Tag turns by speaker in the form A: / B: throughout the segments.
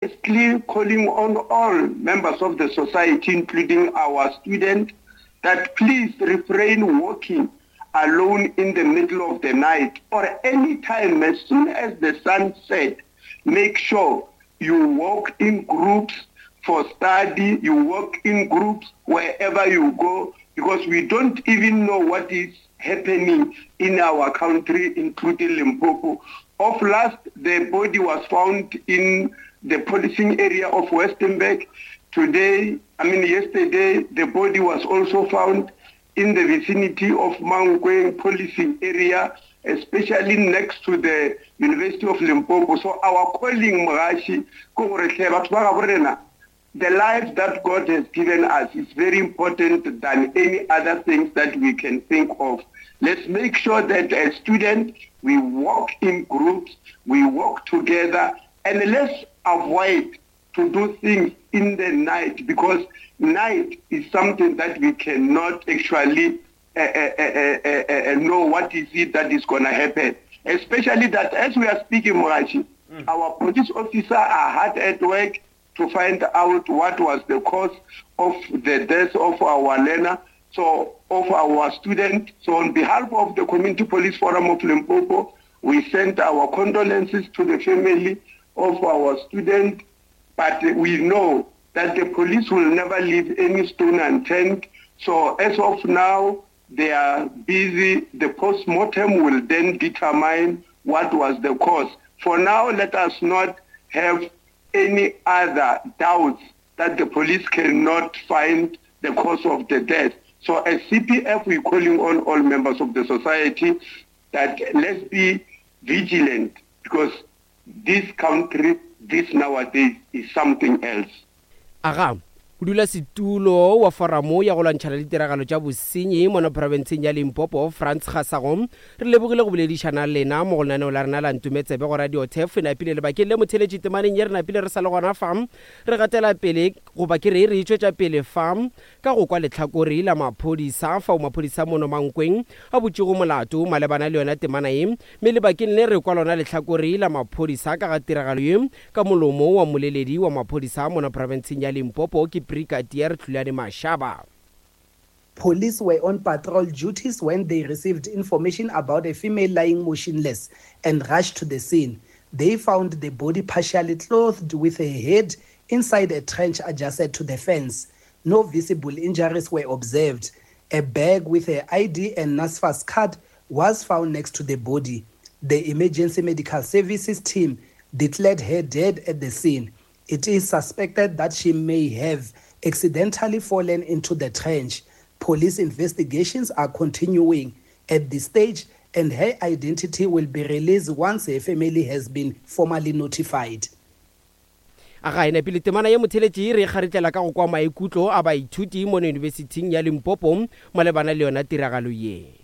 A: Firstly, calling on all members of the society, including our students, that please refrain walking alone in the middle of the night or any time as soon as the sun set. Make sure you walk in groups for study, you walk in groups wherever you go, because we don't even know what is happening in our country, including Limpopo. Of last, the body was found in the policing area of Westenburg. Today, I mean yesterday, the body was also found in the vicinity of Mankweng policing area, especially next to the University of Limpopo. So our calling, Mogashi, the life that God has given us is very important than any other things that we can think of. Let's make sure that as students, we work in groups, we work together, and let's avoid to do things in the night, because night is something that we cannot actually uh, uh, uh, know what is it that is going to happen. Especially that as we are speaking, Morachi, mm. our police officers are hard at work to find out what was the cause of the death of our learner, so of our student. So on behalf of the Community Police Forum of Limpopo, we send our condolences to the family of our student, but we know that the police will never leave any stone unturned. So as of now, they are busy. The post-mortem will then determine what was the cause. For now, let us not have any other doubts that the police cannot find the cause of the death. So as CPF, we're calling on all members of the society that let's be vigilant, because this country, this nowadays, is something else.
B: Aga, modulasetulo wa Foramo ya go lwantšhana le ditiragalo tša bosenyi mono profenseng ya Limpopo, Frans Gasago, re lebogile go boledišana le lena mo go lenaneo la rena la Ntumetsebe go Radio Turf. E napile lebakeng le motheletši temaneng ye re napile re sa le gona fa, re gatela pele goba ke re re itšwetša pele fa ka go kwa lehlakore la maphodisa fao maphodisa mono Mankweng a butšego molato malebana le yona temana ye, mme lebakeng le re kwa lona lehlakore la maphodisa ka ga tiragalo ye ka molomo wa mmoleledi wa maphodisa mono profenseng ya Limpopo ke Brigadier Hlulani Mashaba.
C: Police were on patrol duties when they received information about a female lying motionless and rushed to the scene. They found the body partially clothed with her head inside a trench adjacent to the fence. No visible injuries were observed. A bag with her ID and NSFAS card was found next to the body. The emergency medical services team declared her dead at the scene. It is suspected that she may have accidentally fallen into the trench. Police investigations are continuing at this stage and her identity will be released once her family has been formally notified.
B: A ga e napile temana ye motheletši re e kgaritlela ka go kwa maikutlo a baithuti mono Yunibesithing ya Limpopo malebana le yona tiragalo ye.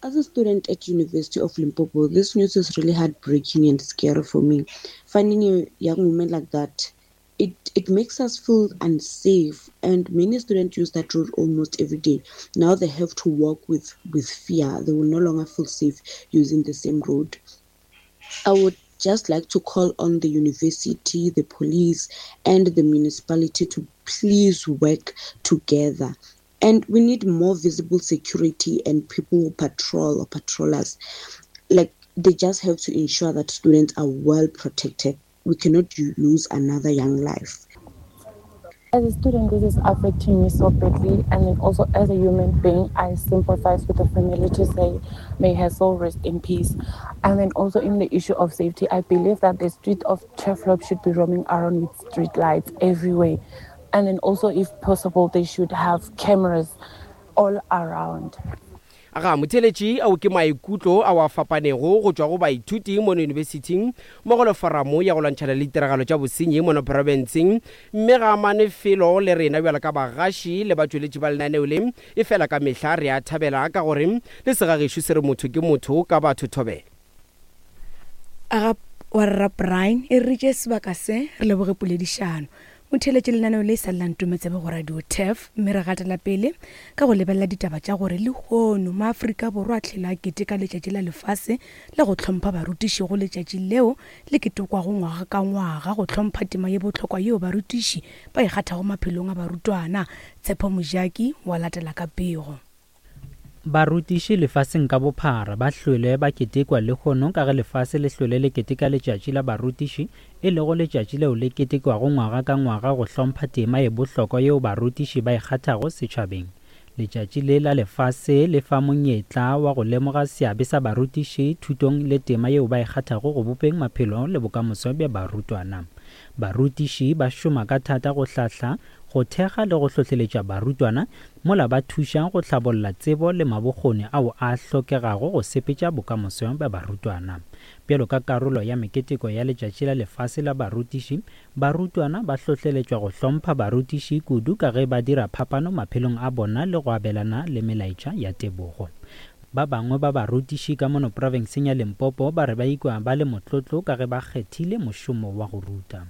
D: As a student at University of Limpopo, this news is really heartbreaking and scary for me. Finding a young woman like that, it, it makes us feel unsafe and many students use that road almost every day. Now they have to walk with, with fear. They will no longer feel safe using the same road. I would just like to call on the university, the police, and the municipality to please work together. And we need more visible security and people who patrol or patrollers. Like, they just have to ensure that students are well protected. We cannot lose another young life.
E: As a student, this is affecting me so badly. And then also as a human being, I sympathize with the family to say, may her soul rest in peace. And then also in the issue of safety, I believe that the street of Turfloop should be roaming around with street lights everywhere. And then also, if possible, they should have cameras all around.
B: Aga motheletši ao ke maikutlo ao a fapanego go tšwa go baithuti mono yunibesithing mmogo le foramo ya go lwantšhana le ditiragalo tša bosenyi mono profenseng mme ga amane felo le rena bjalo ka bagaši le batšweletši ba lenaneo le efela ka mehla re a thabela ka gore le segagešo se re motho ke motho ka batho thobela.
F: Aga wa rra Brian e re tše sebaka se re leboge poledišano. O theeletše lenaneo le sa la Ntometsebe go Radio Turf mme re gatela pele ka go lebelela ditaba tša gore lehono maAfrika Borwa a tlhela a keteka letšatši la lefase la go hlompha barutiši go letšatši leo le ketekwago ngwaga ka ngwaga go hlompha tema ye bohlokwa yeo barutiši ba e kgathago maphelong a barutwana. Tshepo Mojaki wa latela ka pego.
G: Barutiši lefaseng ka bophara ba hlwele ba ketekwa lehono ka ge lefase le hlwele le keteka Letšatši la Barutiši, e lego letšatši leo le ketekwago ngwaga ka ngwaga go hlompha tema ye bohlokwa yeo barutiši ba e kgathago setšhabeng. Letšatši le la lefase le fa monyetla wa go lemoga seabe sa barutiši thutong le tema yeo ba e kgathago go bopeng maphelo le bokamoso bja barutwana. Barutiši ba šoma ka thata go hlahla, go thekga le go hlohleletša barutwana mola ba thuša go hlabolla tsebo le mabokgoni ao a hlokegago go sepetša bokamoso bja barutwana. Bjalo ka karolo ya meketeko ya Letšatši la Lefase la Barutiši, barutwana ba hlohleletšwa go hlompha barutiši kudu ka ge ba dira phapano maphelong a bona le go abelana le melaetša ya tebogo. Ba bangwe ba barutiši ka mono profenseng ya Limpopo ba re ba ikwa ba le motlotlo ka ge ba kgethile mošomo wa go ruta.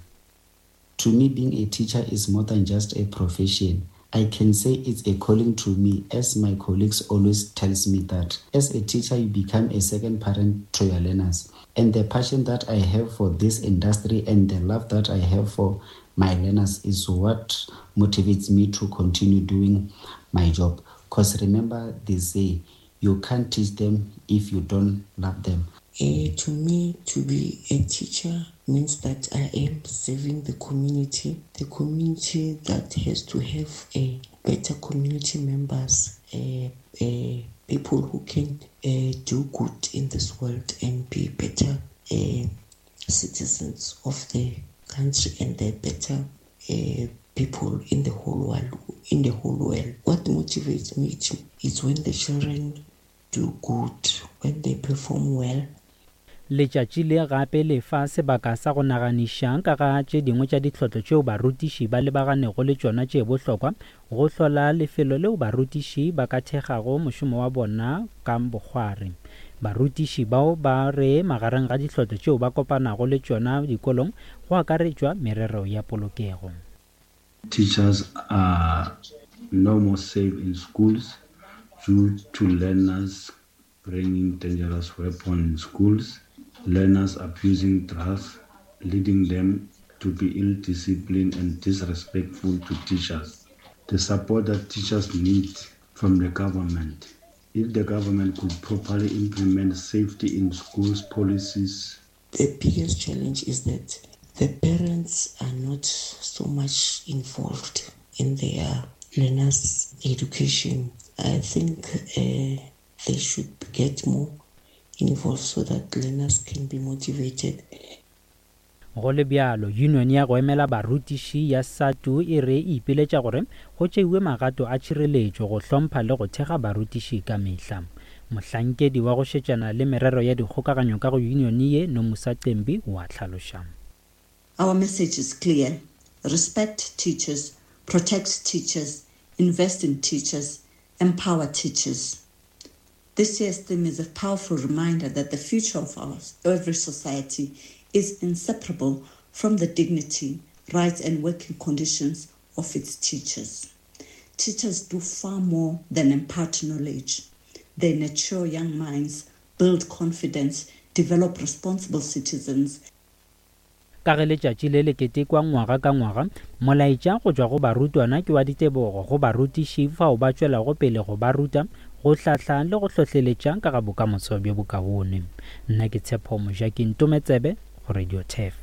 H: To me being a teacher is more than just a profession. I can say it's a calling to me as my colleagues always tells me that as a teacher you become a second parent to your learners and the passion that I have for this industry and the love that I have for my learners is what motivates me to continue doing my job because remember they say you can't teach them if you don't love them.
I: Uh, to me, to be a teacher means that I am serving the community, the community that has to have a better community members, uh, uh, people who can uh, do good in this world and be better uh, citizens of the country and the better uh, people in the whole world. In the whole world, what motivates me to, is when the children do good, when they perform well.
G: Letšatši le gape le fa sebaka sa go naganiša ka ga tše dingwe tša ditlhotlo tšeo barutiši ba lebaganego le tšona tše bohlokwa go hlola lefelo leo barutiši ba ka thekgago mošomo wa bona ka bokgwari. Barutiši bao ba re magareng ga ditlhotlo tšeo ba kopanago le tšona dikolong go akaretšwa merero ya polokego.
J: Teachers are no more safe in schools due to learners bringing dangerous weapons in schools, learners abusing drugs, leading them to be ill-disciplined and disrespectful to teachers. The support that teachers need from the government. If the government could properly implement safety in schools policies.
I: The biggest challenge is that the parents are not so much involved in their learners' education. I think uh, they should get more involved so that learners can be motivated.
G: Go le bjalo, yunione ya go emela barutiši ya SADTU e re e ipiletša gore go tšeiwe magato a tšhireletšo go hlompha le go thekga barutiši ka mehla. Mohlankedi wa go šetšana le merero ya dikgokaganyo ka go yunione ye, Nomusa Cembi, o a hlaloša.
K: Our message is clear, respect teachers, protect teachers, invest in teachers, empower teachers. This year's theme is a powerful reminder that the future of our, every society is inseparable from the dignity, rights, and working conditions of its teachers. Teachers do far more than impart knowledge. They nurture young minds, build confidence, develop responsible citizens.
G: Ka ge letšatši le le ketekwa ngwaga ka ngwaga, molaetša go tšwa go barutwana ke wa ditebogo go barutiši fao ba tšwelago pele go ba ruta, go hlahla le go hlohleletša ka ga bokamoso bjo bokaone. Nna ke Tshepo Mojaki Ntometsebe go Radio Turf.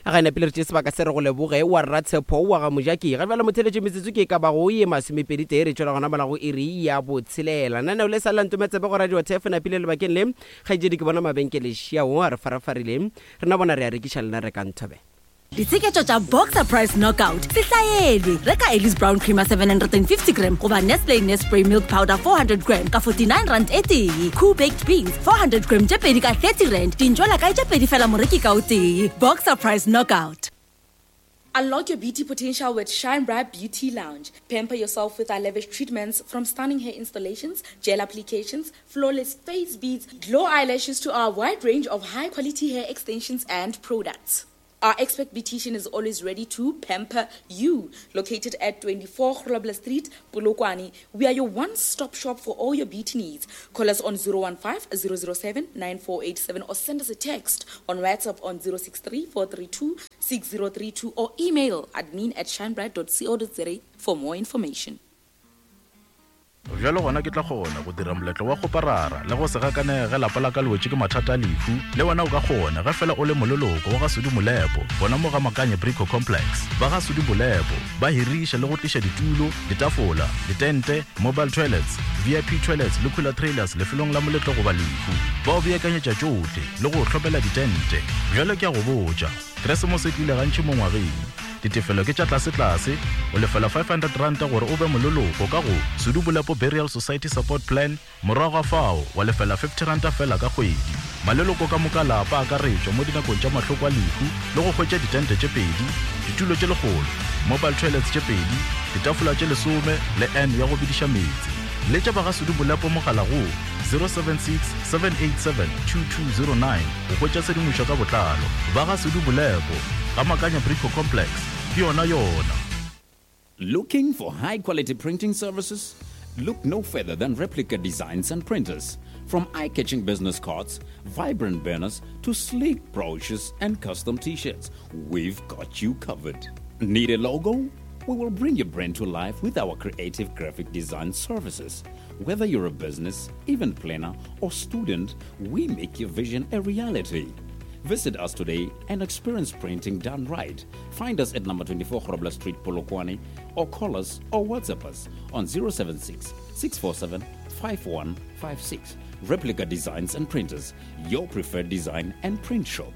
B: Ga e napile re tšee sebaka se re go leboge wa rra Tshepo wa ga Mojaki. Ga bjale motheletše metsotso ke e ka bago ye masomepedi tee re tšwela gona mola go iri ya botshelela. Naneo le sa la Ntometsebe go Radio Turf napile lebakeng le. Kgaetšedi ke bona mabenkele šiao a re farafarile. Rena bona re a rekiša lena rekang thobe.
L: Ditsheketšo tša Boxer Price Knockout se hlaelwe. Reka Ellis Brown Creamer 750 gram goba Nestle Nespray Milk Powder 400 gram ka 49 rand e tee. Cool Baked Beans 400 gram tše pedi ka 30 rand. Dintšwela kae tše pedi fela moreki ka o tee. Boxer Price Knockout.
M: Unlock your beauty potential with Shine Bright Beauty Lounge. Pamper yourself with our lavish treatments from stunning hair installations, gel applications, flawless face beads, glow eyelashes to our wide range of high quality hair extensions and products. Our expert beautician is always ready to pamper you. Located at 24 Grobler Street, Polokwane, we are your one-stop shop for all your beauty needs. Call us on 015 007 9487 or send us a text on WhatsApp on 063 432 6032 or email admin at shinebright.co.za for more information.
N: Bjalo gona ke tla kgona go dira moletlo wa kgoparara le go se gakanege ge lapa la ka le wetše ke mathata a lehu. Le wena o ka kgona ge fela o le moleloko wa ga Sudi Molepo gona mo ga Makanye Brico Complex. Ba ga Sudi Molepo ba hiriša le go tliša ditulo, ditafola, ditente, mobile toilets, VIP toilets le cooler trailers lefelong la moletlo goba lehu. Ba o beakanyetša tšohle le go o hlomela ditente. Bjalo ke a go botša, Keresemose e tlile gantši mo ngwageng. Ditefelo ke tša tlasetlase, o lefela R500 gore o be moleloko ka go Sudu Bolepo Burial Society Support Plan, morago ga fao wa lefela R50 feela ka kgwedi. Maleloko ka moka a lapa a akaretšwa mo dinakong tša mahloko a lehu le go hwetša ditente tše pedi, ditulo tše lekgolo, mobile toilets tše pedi, ditafola tše lesome le urn ya go bediša meetse. Letša ba ga Sudu Bolepo mogala go 076 787 2209 go hwetša tshedimošo ka botlalo. Ba ga Sudu Bolepo. Ga Makanya Brico Complex, ke yona yona.
O: Looking for high quality printing services? Look no further than Replica Designs and Printers. From eye catching business cards, vibrant banners, to sleek brochures and custom t shirts, we've got you covered. Need a logo? We will bring your brand to life with our creative graphic design services. Whether you're a business, event planner, or student, we make your vision a reality. Visit us today and experience printing done right. Find us at number 24 Grobler Street, Polokwane, or call us or WhatsApp us on 076 647 5156. Replica Designs and Printers, your preferred design and print shop.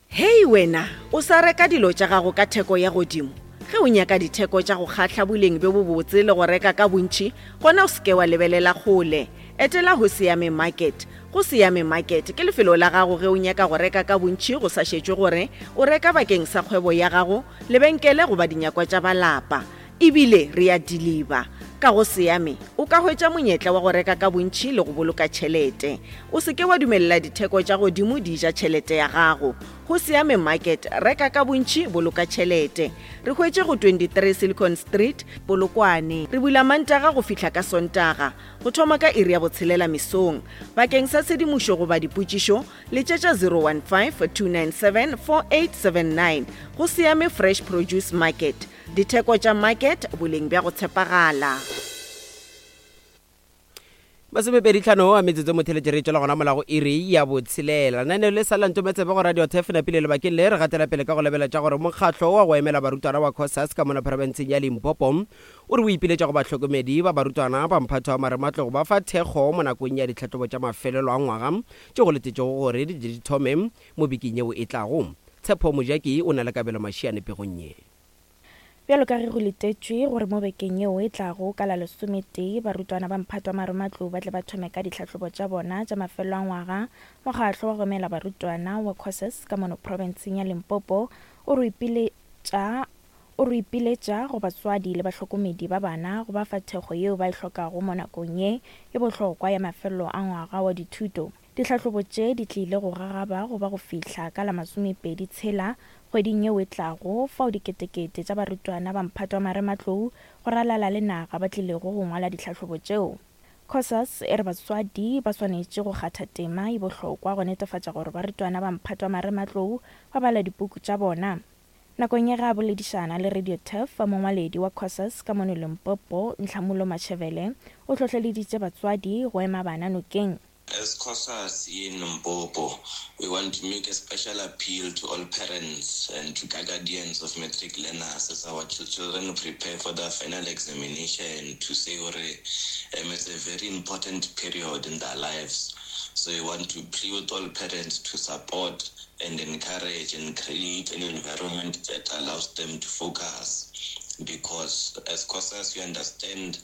P: Hei wena, o sa reka dilo tša gago ka theko ya godimo? Ge o nyaka ditheko tša go kgahla boleng bjo bobotse le go reka ka bontši, gona o se ke wa lebelela kgole. Etela Hoseyame Market. Hoseyame Market ke lefelo la gago ge o nyaka go reka ka bontši go sa šetšwe gore o reka bakeng sa kgwebo ya gago, lebenkele goba dinyakwa tša ba lapa. E bile re a diliba. Ka go Seame, o ka hwetša monyetla wa go reka ka bontši le go boloka tšhelete. O se ke wa dumelela ditheko tša godimo di ja tšhelete ya gago. Go Seame Market, reka ka bontši, boloka tšhelete. Re hwetše go 23 Silicon Street, Polokwane. Re bula Mantaga go fihla ka Sontaga, go thoma ka iri ya botshelela mesong. Bakeng sa tshedimošo goba dipotšišo, letšetša 015 297 4879. Go Seame Fresh Produce Market. Ditheko tša market, boleng bja go tshepagala.
B: Masomepeditlhano a metsotso motheletše re tšwela gona mola go iri ya botshelela. Lenaneo le sa la Ntometsebe go Radio Turf napile lebakeng le re gatela pele ka go lebeletša gore mokgatlo wa go emela barutwana wa Cosas ka mona profenseng ya Limpopo o re o ipiletša go bahlokomedi ba barutwana ba mphato wa marematlou go ba fa thekgo mo nakong ya ditlhahlobo tša mafelelo a ngwaga tše go letetšego gore di tle di thome mo bekeng yeo e tlago. Tshepo Mojaki o na le Kabelo Mashiane pegong ye.
Q: Bjalo ka ge go letetšwe gore mo bekeng yeo e tlago ka la lesometee barutwana ba mphato wa marematlou ba tle ba thome ka ditlhahlobo tša bona tša mafelelo a ngwaga, mokgatlo wa go emela barutwana wa Cosas ka mono profenseng ya Limpopo o re ipiletša o re ipiletša go batswadi le bahlokomedi ba bana go ba fa thekgo yeo ba e hlokago mo nakong ye e bohlokwa ya mafelelo a ngwaga wa dithuto. Ditlhahlobo tše di tlile go gagaba go ba go fihla ka la masomepedi tshela kgweding yeo e tlago, fao diketekete tša barutwana ba mphato wa marematlou go ralala le naga ba tlilego go ngwala ditlhahlobo tšeo. Cosas e re batswadi ba swanetše go kgatha tema e bohlokwa go netefatša gore barutwana ba mphato wa marematlou ba bala dipuku tša bona. Nakong ya ge a boledišana le Radio Turf, mongwaledi wa Cosas ka mono Limpopo, Nhlamulo Matšhevele, o hlohleleditše batswadi go ema bana nokeng.
R: As Cosas in Limpopo, we want to make a special appeal to all parents and to guardians of matric learners as our children prepare for their final examination to say gore um, it's a very important period in their lives. So we want to plead with all parents to support and encourage and create an environment that allows them to focus because as COSAS we understand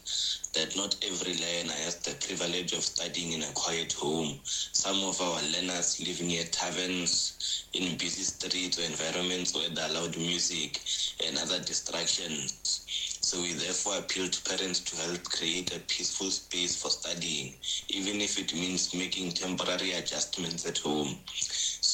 R: that not every learner has the privilege of studying in a quiet home. Some of our learners live near taverns, in busy streets or environments where there are loud music and other distractions. So we therefore appeal to parents to help create a peaceful space for studying, even if it means making temporary adjustments at home.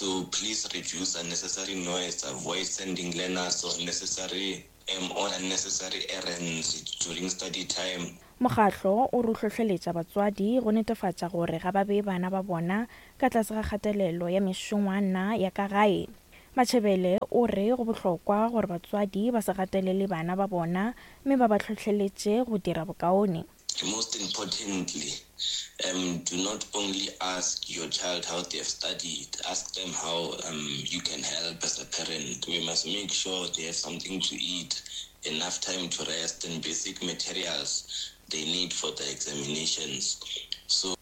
R: So please reduce unnecessary noise, avoid sending learners unnecessary um, on unnecessary errands during study time.
Q: Mokgatlo o re o hlohleletša batswadi go netefatša gore ga ba bee bana ba bona ka tlase ga kgatelelo ya mešongwana ya ka gae. Matšhebele o re go bohlokwa gore batswadi ba se gatelele bana ba bona mme ba ba hlohleletše go dira bokaone.
R: Most importantly, um, do not only ask your child how they have studied, ask them how um, you can help as a parent. We must make sure they have something to eat, enough time to rest, and basic materials they need for the examinations. So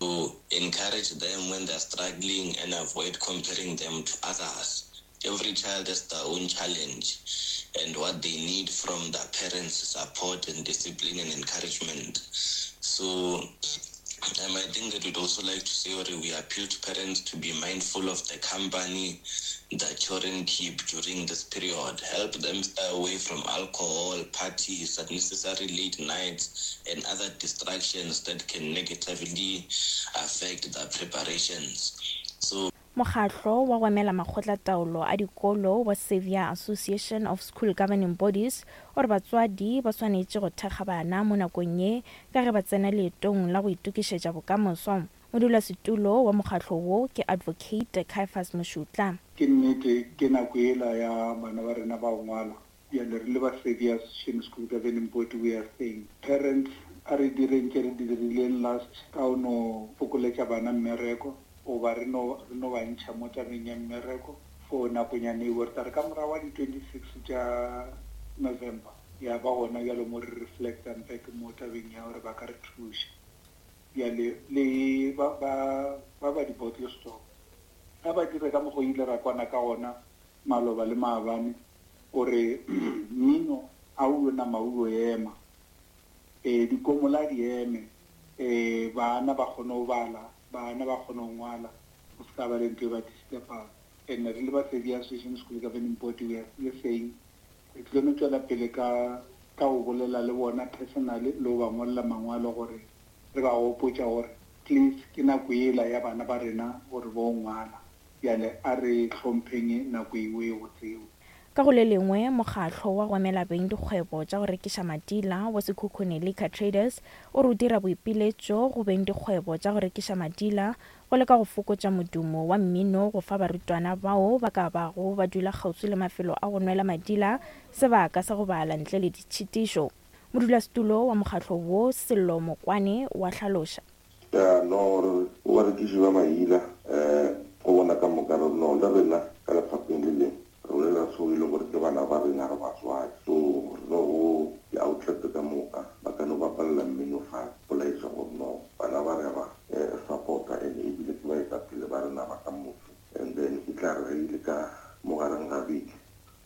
R: encourage them when they're struggling and avoid comparing them to others. Every child has their own challenge and what they need from their parents support and discipline and encouragement. So um, I think that we'd also like to say that we appeal to parents to be mindful of the company that children keep during this period. Help them stay away from alcohol, parties, unnecessary late nights, and other distractions that can negatively affect their preparations. So
Q: Mokgatlo wa go emela makgotlataolo a dikolo wa Saviour Association of School Governing Bodies o re batswadi ba swanetše go thekga bana mo nakong ye ka ge ba tsena leetong la go itokišetša bokamoso. Modulasetulo wa mokgatlo wo ke Advocate Caiphus Mošutla.
S: Ke nnete, ke nako yela ya bana ba rena ba go ngwala. Bjale re le ba Saviour Association School Governing Body we are saying, parents a re direng tše re di dirileng last ka go no fokoletša bana mmereko goba re no re no ba ntšha mo tabeng ya mmereko for nakonyana eo. Re tla re ka morago ga di 26 tša November ya ba gona bjalo mo re reflectang back mo tabeng ya gore ba ka re thuša. Bjale le ba ba ba ba di bottle store a ba dire ka mokgo ile ra kwana ka gona maloba le maabane gore mmino a o yo nama o yo ema, ee dikomola di eme, ee bana ba kgone go bala, bana ba kgone go ngwala, go se ka ba le ntho e ba disturbang. And re le ba Saviour Association School Governing Body we are still saying re tlilo no tšwela pele ka ka go bolela le bona personally le go ba ngwalela mangwalo gore re ba gopotša gore please ke nako yela ya bana ba rena gore bo ngwala. Bjale a re hlompheng nako ewe go tseo.
Q: Ka go le lengwe, mokgatlo wa go emela beng dikgwebo tša go rekiša madila wa Sekhukhune Liquor Traders o re o dira boipiletšo go beng dikgwebo tša go rekiša madila go leka go fokotša modumo wa mmino go fa barutwana bao ba ka bago ba dula kgauswi le mafelo a go nwela madila sebaka sa go bala ntle le ditšhitišo. Modulasetulo wa mokgatlo wo, Sello Mokwane, o a hlaloša.
T: Ya, no, re go barekiši ba maila, eh, go bona ka moka re, no, le rena ka lefapheng le leng, re bolela seo e le gore ke bana ba rena, re batswadi. So, re no go di-outlet ka moka, ba ka no bapalela mmino fase, go laetša gore no, bana ba re a ba, eh, support-a and ebile ke baetapele ba rena ba ka moso. And then e tla re ge e le ka mo gareng ga beke,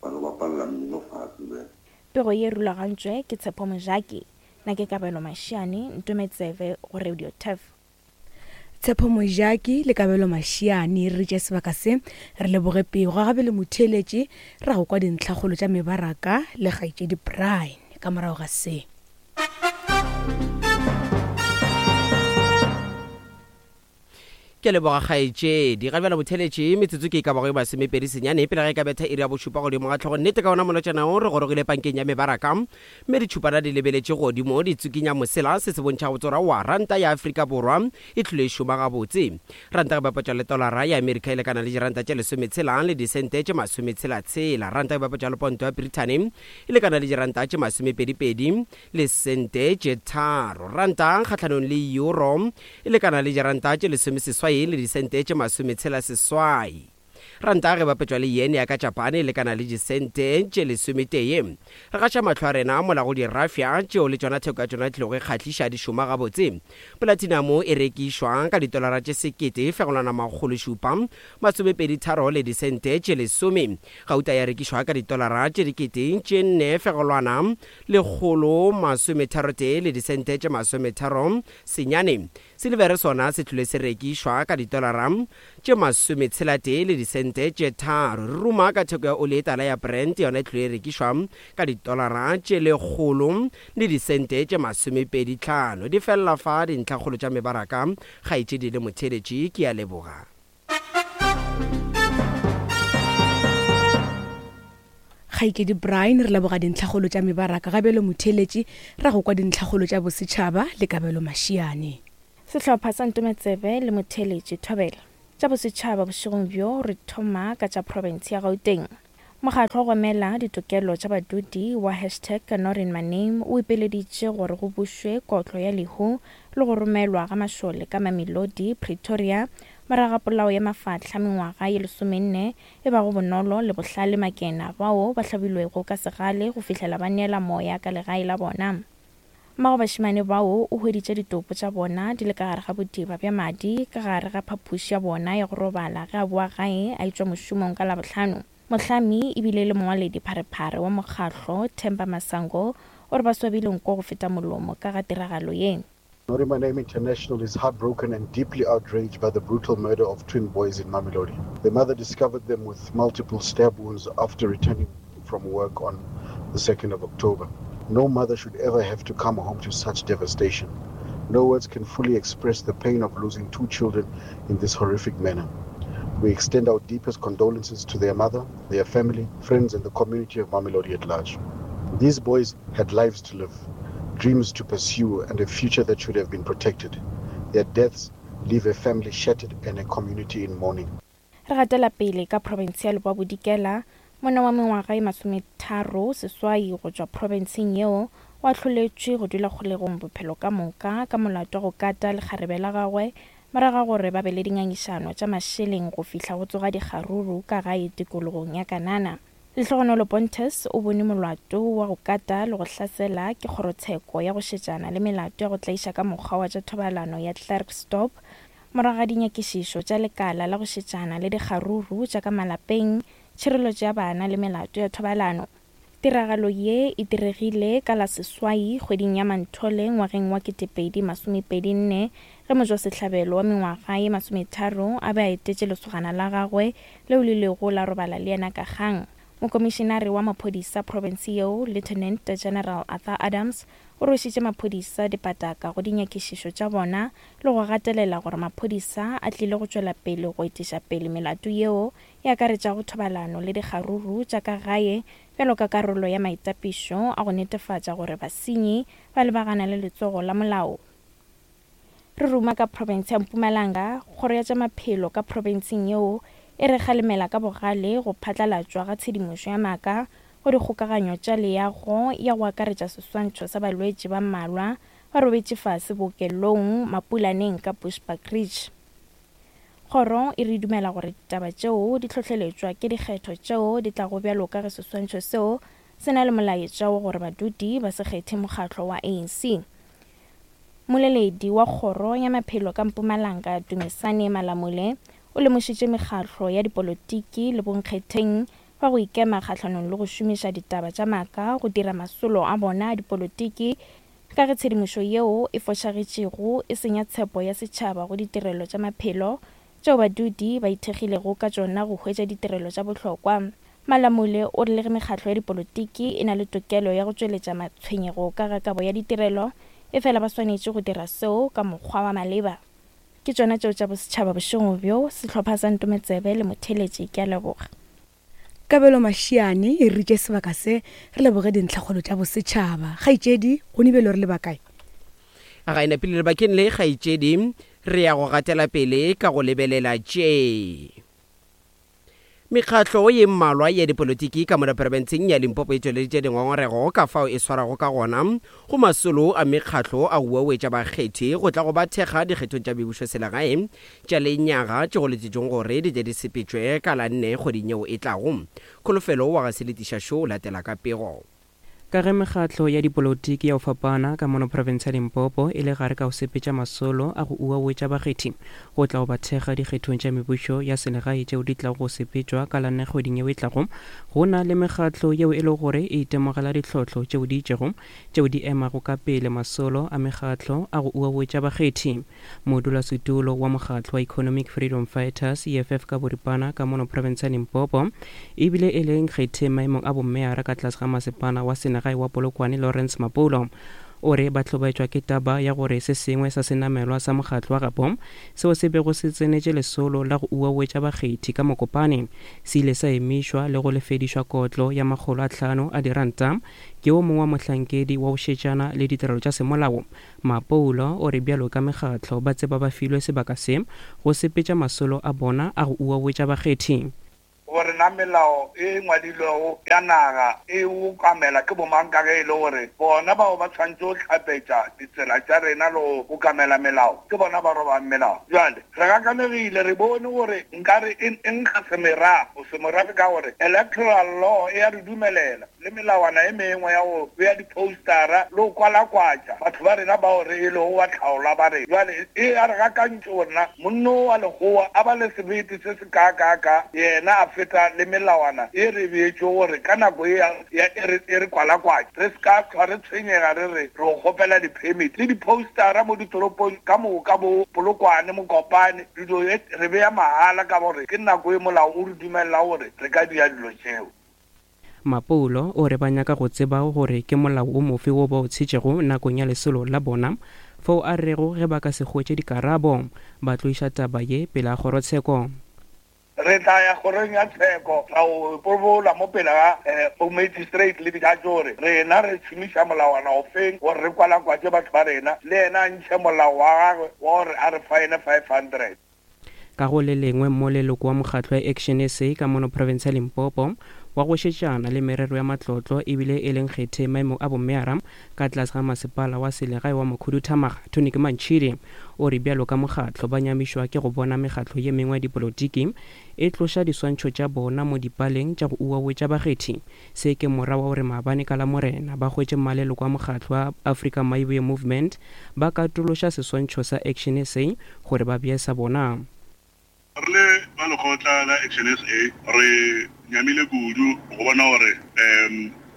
T: ba no bapalela mmino fase then.
Q: Pego ye e rulagantšwe ke Tshepo Mojaki. Nna ke Kabelo Mashiane, Ntometsebe go Radio Turf.
F: Tshepo Mojaki le Kabelo Mashiane re tše sebaka se re leboge pego gabe le motheeletši ra go kwa dintlhakgolo tša mebaraka le kgaetšedi Brian ka morago ga se.
B: Ke leboga kgaetšedi. Ga bjale botheletše metsotso ke e ka bago e masomepedi senyane pele ga e ka betha iri ya bošupa godimo ga tlhogo. Nnete ka ona molotšana o re gorogile pankeng ya mebaraka mme ditšhupana di lebeletše godimo di tsukinya mosela. Se se bontšha gabotse gore aowa ranta ya Afrika Borwa e tlile e šoma gabotse. Ranta ge bapatšwa le tolara ya Amerika e lekana le diranta tše lesometshela le disente tše masometshela-tshela. Ranta ge bapatšwa le ponto ya Brithani e lekana le diranta tše masomepedi-pedi le sente tše tharo. Ranta kgahlanong le euro e lekana le diranta tše lesomeseswai le disente tše masometshela seswai. Ranta ge bapetšwa le yen ya ka Japane e lekana le disente tše lesometee. Re gaša mahlo a rena mola go dirafya tšeo le tšona theko ya tšona e tlogo e kgahliša di šoma gabotse. Polatinamo e rekišwa ka ditolara tše sekete fegelwana makgolo šupa masomepedi tharo le disente tše lesome. Gauta ya rekišwa ka ditolara tše dikete tše nne fegelwana lekgolo masometharotee le disente tše masometharo senyane. Silivere sona se tlile se rekišwa ka ditolara tše masometshelatee le disente tše tharo. Re ruma ka theko ya oli e tala ya Brent, yona e tlile e rekišwa ka ditolara tše lekgolo le disente tše masomepedi tlhano. Di felela fa dintlhakgolo tša mebaraka, kgaetšedi le motheeletši, ke a leboga.
F: Kgaetšedi Brian, re leboga dintlhakgolo tša mebaraka. Ga bjalo motheeletši, ra go kwa dintlhakgolo tša bosetšhaba le Kabelo Mashiane.
Q: Sehlopha sa Ntometsebe le motheeletši Thobela. Tša bosetšhaba bošegong bjo re thoma ka tša profense ya Gauteng. Mokgatlo wa go emela ditokelo tša badudi wa hashtag NotInMyName o ipeleditše gore go bušwe kotlo ya lehu le go romelwa ga mašole ka Mamelodi, Pretoria, morago ga polao ya mafahla mengwaga ye lesomenne e bago Bonolo le Bohlale Makena bao ba hlabilwego ka segale go fihlela ba neela moya ka legae la bona. Mmago bašemane bao o hweditše ditopo tša bona di le ka gare ga bodiba bja madi ka gare ga phapoši ya bona ya go robala ge a boa gae a etšwa mošomong ka Labohlano. Mohlami e bile e le mongwaledi pharephare wa mokgahlo, Themba Masango, o re ba swabile nko go feta molomo ka ga tiragalo ye.
U: Not In My Name International is heartbroken and deeply outraged by the brutal murder of twin boys in Mamelodi. Their mother discovered them with multiple stab wounds after returning from work on the 2nd of October. No mother should ever have to come home to such devastation. No words can fully express the pain of losing two children in this horrific manner. We extend our deepest condolences to their mother, their family, friends, and the community of Mamelodi at large. These boys had lives to live, dreams to pursue, and a future that should have been protected. Their deaths leave a family shattered and a community in mourning.
Q: Re gatela pele ka profense ya Leboa-Bodikela, monna wa mengwaga e masometharo seswai go tšwa profenseng yeo o ahloletšwe go dula kgolegong bophelo ka moka ka molato wa go kata lekgarebe la gagwe morago ga gore ba be le dingangišano tša mašeleng go fihla go tsoga dikgaruru ka gae tikologong ya Kanana. Lehlogonolo Pontus o bone molato wa go kata le go hlasela ke kgorotsheko ya go šetšana le melato ya go tlaiša ka mokgwa wa tša thobalano ya Klerksdorp morago ga dinyakišišo tša lekala la go šetšana le dikgaruru tša ka malapeng, tšhireletšo ya bana le melato ya thobalano. Tiragalo ye e diregile ka la seswai kgweding ya Manthole ngwageng wa 2024 ge motšwasehlabelo wa mengwaga ye masometharo a be a etetše lesogana la gagwe leo le ilego la robala le yena ka kgang. Mokomišenare wa maphodisa profense yeo, Lieutenant General Arthur Adams, o rwešitše maphodisa dipataka go dinyakišišo tša bona le go gatelela gore maphodisa a tlile go tšwela pele go etiša pele melato yeo e akaretšago thobalano le dikgaruru tša ka gae bjalo ka karolo ya maitapišo a go netefatša gore basenyi ba lebagana le letsogo la molao. Re ruma ka profense ya Mpumalanga, kgoro ya tša maphelo ka profenseng yeo e re kgalemela ka bogale go phatlalatšwa ga tshedimošo ya maaka go dikgokaganyo tša leago ya go akaretša seswantšho sa balwetši ba mmalwa ba robetše fase bookelong Mapulaneng ka Bushbuckridge. Kgoro e re dumela gore ditaba tšeo di hlohleletšwa ke dikgetho tšeo di tlago bjalo ka ge seswantšho seo se na le molaetša wa gore badudi ba se kgethe mokgatlo wa ANC. Mmoleledi wa Kgoro ya Maphelo ka Mpumalanga, Dumisani Malamule, o lemošitše mekgatlo ya dipolotiki le bonkgetheng ba go ikema kgahlanong le go šomiša ditaba tša maaka go dira masolo a bona a dipolotiki ka ge tshedimošo yeo e fošagetšego e senya tshepo ya setšhaba go ditirelo tša maphelo tšeo badudi ba ithekgilego ka tšona go hwetša ditirelo tša bohlokwa. Malamule o re le ge mekgatlo ya dipolotiki e na le tokelo ya go tšweletša matshwenyego ka ga kabo ya ditirelo, efela ba swanetše go dira seo ka mokgwa wa maleba. Ke tšona tšeo tša bosetšhaba bošego bjo, sehlopha sa Ntometsebe le motheeletši, ke a leboga.
F: Kabelo Mashiane e ritše sebaka se re leboge dintlhakgolo tša bosetšhaba. Kgaetšedi, gone bjalo re leba kae?
B: Ga e napile lebakeng le, kgaetšedi, re ya go gatela pele ka go lebelela tše. Mekgatlo ye mmalwa ya dipolotiki ka mola profenseng ya Limpopo e tšweleditše dingongorego ka fao e swarago ka gona go masolo a mekgatlo a go uauetša bakgethi go tla go ba thekga dikgethong tša mebušoselegae tša lenyaga tše go letetšweng gore di tle di sepetšwe ka la nne kgweding yeo e tlago. Kholofelo wa ga Seletiša Šo o latela ka pego.
V: Ka ge mekgatlo ya dipolotiki ya go fapana ka mono profense ya Limpopo e le gare ka go sepetša masolo a go uauetša bakgethi go tla go ba thekga dikgethong tša mebušo ya selegae tšeo di tlago go sepetšwa ka la nne kgweding yeo e tlago, go na le mekgatlo yeo e lego gore e itemogela ditlhohlo tšeo di itšego tšeo di emago ka pele masolo a mekgatlo a go uauetša bakgethi. Modulasetulo wa mokgatlo wa Economic Freedom Fighters, EFF ka boripana, ka mono profense ya Limpopo, ebile e le nkgetheng maemong a bommeyara ka tlase ga masepala wa selegae wa Polokwane Lawrence Mapoulo. O re ba hlobaetšwa ke taba ya gore se sengwe sa senamelwa sa mokgatlo wa gabo seo se bego se tsenetše lesolo la go uauetša bakgethi ka Mokopane se ile sa emišwa le go lefedišwa kotlo ya makgolo a hlano a diranta ke wo mongwe wa mohlankedi wa go šetšana le ditirelo tša semolao. Mapoulo o re bjalo ka mekgatlo ba tseba ba filwe sebaka se go sepetša masolo a bona a go uauetša bakgethi.
A: Gore na melao e ngwadilwego ya naga e okamela ke bomang ka ge e le gore bona bao ba tshwanetše go hlapetša ditsela tša rena le go okamela melao ke bona ba robang melao. Bjale re gakanegile, re bone gore nkare e nkga semerafo, semorafe ka gore electoral law e a re dumelela le melawana e mengwe ya go bea diphoustara le go kwalakwatša batho ba rena bao re e lego batlhaolwa ba rena. Bjale e a re gakantše gore na monno wa Lekgowa a ba le sebete se se kaakaaka yena a feta le melawana ye re e beetšego gore ka nako ye ya e re e re kwalakwatše re se ka hlwa re tshwenyega re re re go kgopela di-permit le diphoustara mo ditoropong ka moka bo Polokwane, Mokopane, dilo re bea mahala ka gore ke nako ye molao o re dumelelago gore re ka dira dilo tšeo.
V: Mapoulo o re ba nyaka go tseba gore ke molao o mofe wo ba o tshetšego nakong ya lesolo la bona, fao a rego ge ba ka se hwetše dikarabo, ba tlo iša taba ye pele ga kgorotsheko.
A: Re tla ya kgorong ya tsheko ra o ipobola mo pele ga bo-magistrate le di-judge gore rena re šomiša molawana ofeng gore re kwalakwatše batho ba rena, le yena a ntšhe molao wa gagwe wa gore a re fine 500.
V: Ka go le lengwe mo leloko wa mokgatlo ya Action SA ka mono profense ya Limpopo wa go šetšana le merero ya matlotlo ebile e le nkgethe maemong a bommeara ka tlase ga masepala wa selegae wa Mokhuduthamaga Tonic Mantšhidi o re bjalo ka mokgatlo ba nyamišwa ke go bona mekgatlo ye mengwe ya dipolotiki e tloša diswantšho tša bona mo dipaleng tša go uauetša bakgethi. Se ke mora wa gore maabane ka Lamorena ba hwetše mmaleloko a mokgatlo wa Africa Maiboye Movement ba katološa seswantšho sa Action SA gore ba bee sa bona.
C: Re le ba lekgotla la Action SA re nyamile kudu go bona gore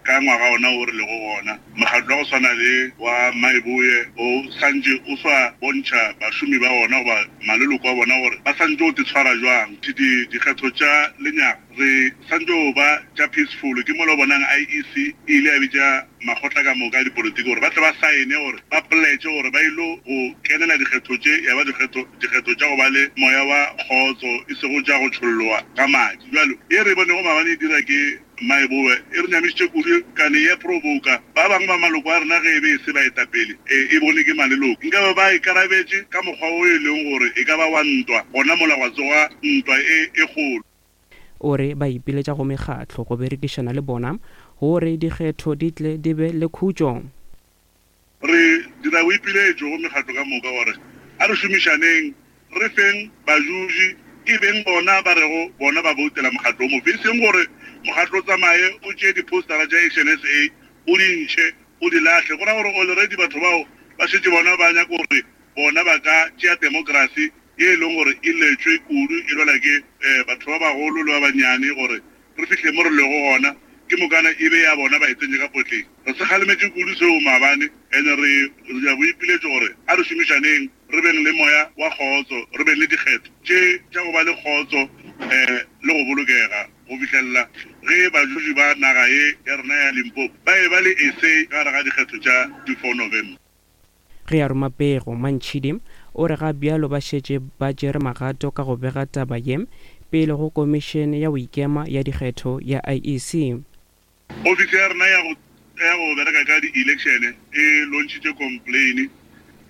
C: ka ngwaga ona wo re lego gona, mokgatlo wa go swana le wa Maiboye o santše o sa bontšha bašomi ba ona goba maleloko a bona gore ba santše go titshwara jwang. Dikgetho tša lenyaga Re santše go ba tša peaceful, ke mola o bonang IEC e ile ya bitša makgotla ka moka a dipolotiki gore ba tle ba saene gore ba pledge gore ba ilo go kenela dikgetho tše ya ba dikgetho dikgetho tša go ba le moya wa kgotso e sego tša go tšholloa ga madi. Bjalo ye re e bonego maabane e dira ke Maeboe e re nyamišitše kudu kane ya provoka ba bangwe ba maloko a rena ge e be e se baetapele e e bone ke maleloko nka be ba ikarabetše ka mokgwa wo e leng gore e ka ba wa ntwa gona mola gwa tsoga ntwa e e kgolo.
V: O re ba ipiletša go mekgatlo go berekišana le bona gore dikgetho di tle di be le khutšo.
C: Re dira boipiletšo go mekgatlo ka moka gore a re šomišaneng, re feng bajuji e beng bona ba rego bona ba boutela mokgatlo o mofe, e seng gore mokgatlo o tsamaye o tšee diphoustara tša Action SA o di ntšhe o di lahle. Go ra gore already batho bao ba šetše bona ba nyaka gore bona ba ka tšea demokrasi ye e leng gore e letšwe kudu e lwela ke batho ba bagolo le ba bannyane gore re fihle mo re lego gona, ke mokana e be ya bona ba e tsentše ka potleng. Re se kgalemetše kudu seo maabane and re dira boipiletšo gore a re šomišaneng, re beng le moya wa kgotso, re beng le dikgetho tše tša go ba le kgotso le go bolokega go fihlelela ge bajuji ba naga ye ya rena ya Limpopo ba eba le a say ka gare ga dikgetho tša di 4 November.
V: Ge a roma pego, Mantšhidi o re ga bjalo ba šetše ba tšere magato ka go bega taba ye pele go Komišene ya go Ikema ya Dikgetho ya IEC.
C: Ofisi ya rena ya go ya go bereka ka di-election e launchitše complain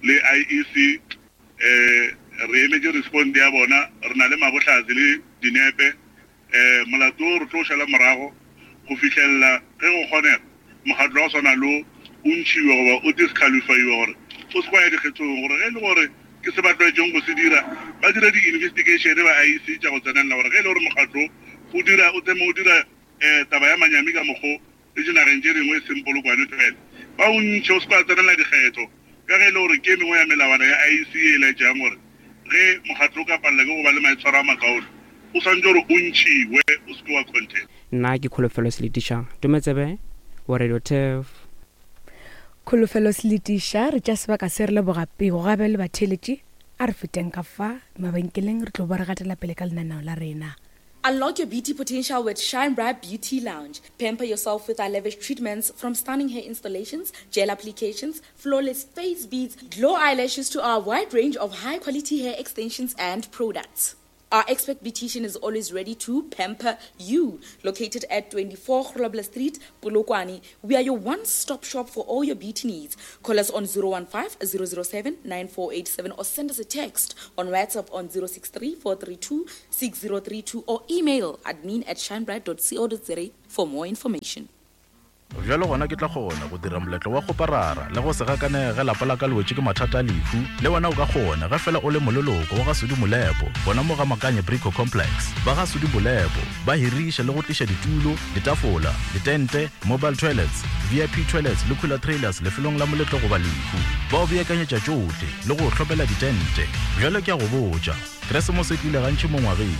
C: le IEC. Re emetše respond ya bona. Re na le mabohlatse le dinepe. Molato wo re tlo o šala morago go fihlelela ge go kgonega mokgatlo wa go swana lo o ntšhiwe goba o disqualifyiwe gore o se kwa ya dikgethong gore ge e le gore ke se ba tlwaetšeng go se dira ba dire di-investigation ba IEC tša go tsenelela gore ge e le gore mokgatlo o dira o tseme o dira um taba ya manyami ka mokgo le dinageng tše dingwe e seng Polokwane fela, ba o ntšhe o se ke wa tsenela dikgetho ka ge e le gore ke e mengwe ya melawana ya IEC ye e laetšang gore ge mokgatlo o ka palela ke go ba le maitshwaro a makaone o swanetše gore o ntšhiwe o se ke wa contest.
V: Nna ke Kholofelo Seletiša, Tometsebe wa Radio Turf.
F: Kholofelo Seletiša, Re tšea sebaka se re leboga pego gabe le batheeletši. A re feteng ka fa mabenkeleng re tlo ba re gatela pele ka lenaneo la rena.
M: Unlock your beauty potential with Shine Bright Beauty Lounge. Pamper yourself with our lavish treatments from stunning hair installations, gel applications, flawless face beads, glow eyelashes to our wide range of high quality hair extensions and products. Our expert beautician is always ready to pamper you. Located at 24 Grobler Street, Polokwane, we are your one-stop shop for all your beauty needs. Call us on 015 007 9487 or send us a text on WhatsApp on 063 432 6032 or email admin at shinebright.co.za for more information.
N: Bjalo gona ke tla kgona go dira moletlo wa kgoparara le go se gakanege lapa la ka le wetše ke mathata a lehu. Le wena o ka kgona ge fela o le moleloko wa ga Sudi Molepo gona mo ga Makanye Brico Complex. Ba ga Sudi Molepo ba hiriša le go tliša ditulo, ditafola, ditente, mobile toilets, VIP toilets le cooler trailers lefelong la moletlo goba lehu. Ba o beakanyetša tšohle le go o hlomela ditente. Bjalo ke a go botša, Keresemose e tlile gantši mo ngwageng.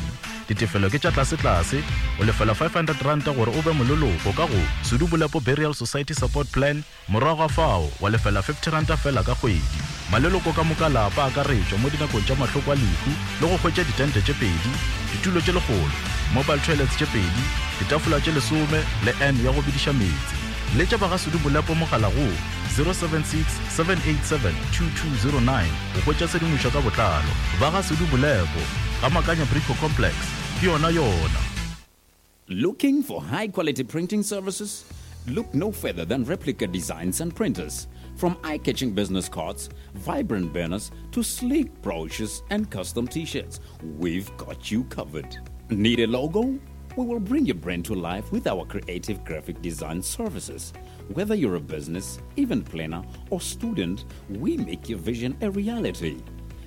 N: Ditefelo ke tša tlasetlase, o lefela R500 gore o be moleloko ka go Sudu Bolepo Burial Society Support Plan, morago ga fao wa lefela R50 feela ka kgwedi. Maleloko ka moka a lapa a akaretšwa mo dinakong tša mahloko a lehu le go hwetša ditente tše pedi, ditulo tše lekgolo, mobile toilets tše pedi, ditafola tše lesome le urn ya go bediša meetse. Letša ba ga Sudu Bolepo mogala go 076 787 2209 go hwetša tshedimošo ka botlalo. Ba ga Sudu Bolepo. Ga Makanya Brico Complex, ke yona yona.
O: Looking for high quality printing services? Look no further than Replica Designs and Printers. From eye catching business cards, vibrant banners, to sleek brochures and custom t shirts, we've got you covered. Need a logo? We will bring your brand to life with our creative graphic design services. Whether you're a business, event planner, or student, we make your vision a reality.